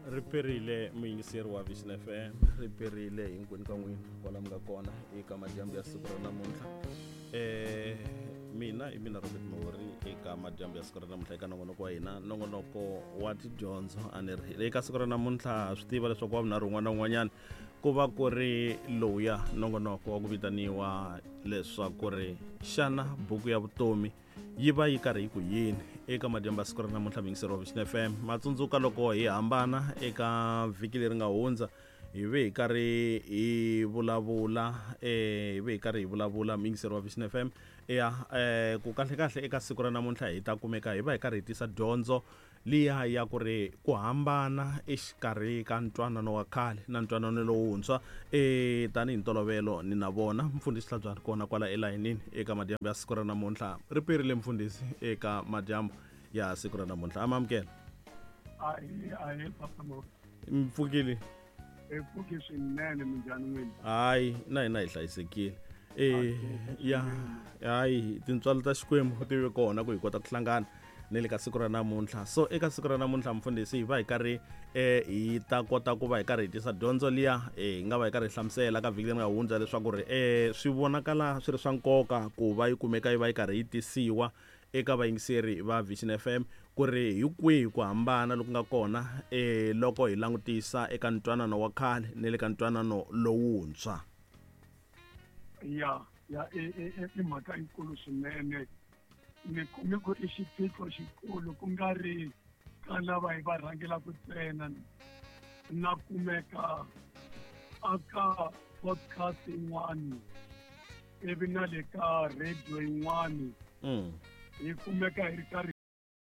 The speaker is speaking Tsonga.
Ri perile muyingiseri wa Vision FM, ri perile hinkwenu ka n'wina kwala mi nga kona eka madyambu ya siku ra namuntlha. Mina hi mina Robert Mahori eka madyambu ya siku ra namuntlha eka nongonoko wa hina, nongonoko wa tidyondzo. A ni ri eka siku ra namuntlha swi tiva leswaku wa vunharhu un'wana na un'wanyana ku va ku ri lowuya nongonoko wa ku vitaniwa leswaku ri xana buku ya vutomi yi va yi karhi yi ku yini. Eka madyambu ya siku ra namuntlha muyingiseri wa Vision FM, matsundzuka loko hi hambana eka vhiki leri nga hundza, hi ve hi karhi hi vulavula hi ve hi karhi hi vulavula muyingiseri wa Vision FM ya ku kahle kahle eka siku ra namuntlha hi ta kumeka hi va hi karhi hi tisa dyondzo liya ya ku ri ku hambana exikarhi ka ntwanano wa khale na ntwanano lowuntshwa. Tanihi ntolovelo ni na vona mfundhisi Hlabyani kona kwala elayinini eka madyambu ya siku ra namuntlha. Ri perile mfundhisi eka madyambu ya siku ra namuntlha, amamukela. Ahe papa Mo. Mpfukile? Hi pfuki swinene, minjhani n'wina? Hayi, na hina hi hlayisekile. Ya hayi, tintswalo ta Xikwembu ti ve kona ku hi kota ku hlangana ni le ka siku ra namuntlha. So eka siku ra namuntlha mfundhisi hi va hi karhi hi ta kota ku va hi karhi hi tisa dyondzo liya hi nga va hi karhi hi hlamusela ka vhiki leri nga hundza leswaku ri swi vonakala swi ri swa nkoka ku va yi kumeka yi va yi karhi yi tisiwa eka vayingiseri va Vision FM ku ri hi kwihi ku hambana loku nga kona loko hi langutisa eka ntwanano wa khale ni le ka ntwanano lowuntshwa. Ya ya i mhaka yikulu swinene, ni kume ku i xiphiqo xikulu ku nga ri ka lava hi va rhangelaka ntsena, na kumeka aka podcast yin'wani ivi na le ka radio yin'wani hi kumeka hi ri karhi.